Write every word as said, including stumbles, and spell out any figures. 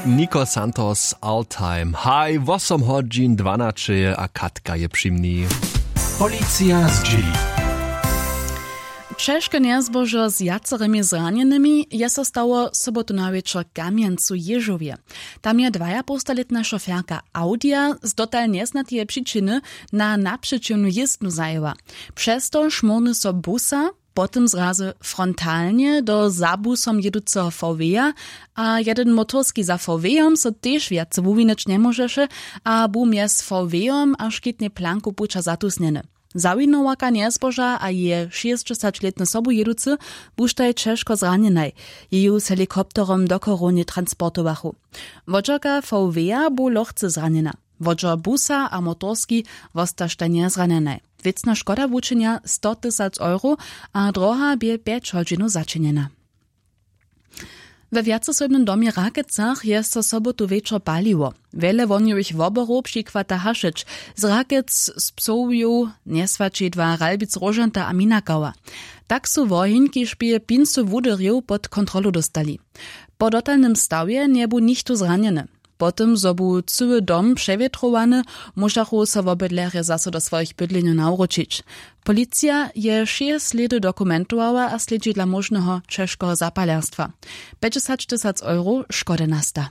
Niko Santos, Altheim, haj, wosom hodźin dwanaćeje a Katka je při mni. Policija zdźěli. Ćežke njezbožo z wjacerymi zranjenymi je so stało sobotu na wječor w Kamjencu w Jěžowje. Tam je dwajapołstalětna šoferka Audija z dotal njeznateje přičiny na napřećiwnu jězbnu zajěła. Přez to šmórny so busa, potom zrazy frontalnje do za busom jěduceho V W-a a jeden motorski za V W-om so tež wjace wuwinyć njemóžeše a bu mjez V W-om a škitnej planku puća zatusnjeny. Zawinowarka njezboža a jeje šěsćdźesaćlětny sobujěducy buštaj ćežko zranjenaj. Jeju z helikopterom do chorownje transportowachu. Wodźerka V W-a bu lochce zranjena. Wodźer busa a motorski wostaštaj njezranjenaj. Wěcna škoda wučenja sto tysac euro a droha bě pjeć hodźinow začinjena. We wjaceswójbnym domje w Rakecach je so sobotu wječor paliło. Wjele wohnjowych woborow přichwata hašeć z Rakec, z Psołjow, Njeswaćidła, Ralbic, Róžanta a Minakała. Tak su woheń kiž bě pinsu wuderjow pod kontrolu dóstali. Po dotalnym stawje njebu nichtó zranjeny. Po tym zo bu cyły dom přewětrowany, móžachu so wobydlerjo zaso do swojich bydlenjow nawróćić. Policija je wšě slědy dokumentowała a slědźi dla móžneho ćežkeho zapalerstwa. Pjećdźesać tysac euro škody nasta.